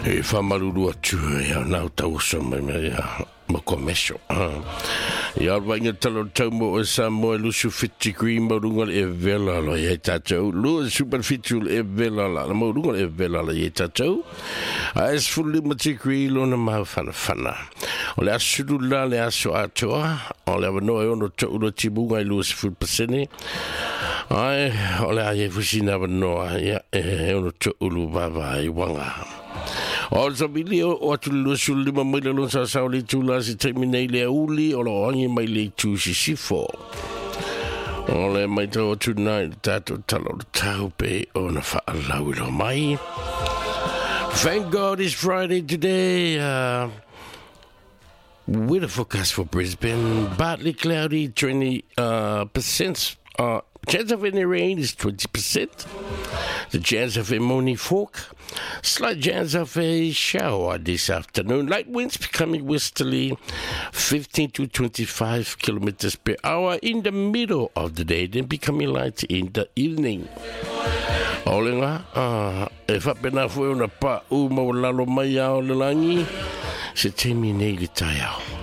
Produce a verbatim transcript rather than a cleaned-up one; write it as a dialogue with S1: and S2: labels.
S1: E whamaruru atu ia nau tau oso mai mai ia mo komesho. Ia o vainga talo tau mo o sa mo e lusu fiti green mo runga le e vela lo ia tātou. Lua super fitu le e vela la mo runga le e vela la ia tātou. A es fulli matikri lona mau whana whana. O le asuru la le aso atoa. O le awanoa e ono to uro tibunga i lua siful pasene. Ai, o le aie fusina awanoa ia e ono to ulu baba i wanga. O le sabili o atu le luasul lima mai le lon sa sao le tula si taimi nei le uli o lo angi mai le tu sisifo. O le mai tau atu nai le tātou talo le tau pe o na whaalau i lo mai. Thank God it's Friday today. Uh, weather forecast for Brisbane, partly cloudy, twenty uh, percent. Uh, chance of any rain is twenty percent. The chance of a morning fog. Slight chance of a shower this afternoon. Light winds becoming westerly, fifteen to twenty-five kilometers per hour in the middle of the day, then becoming light in the evening. Olenga, uh, e whapena fue ona pa u mau lalo mai ao le langi, se temi nei le tai ao.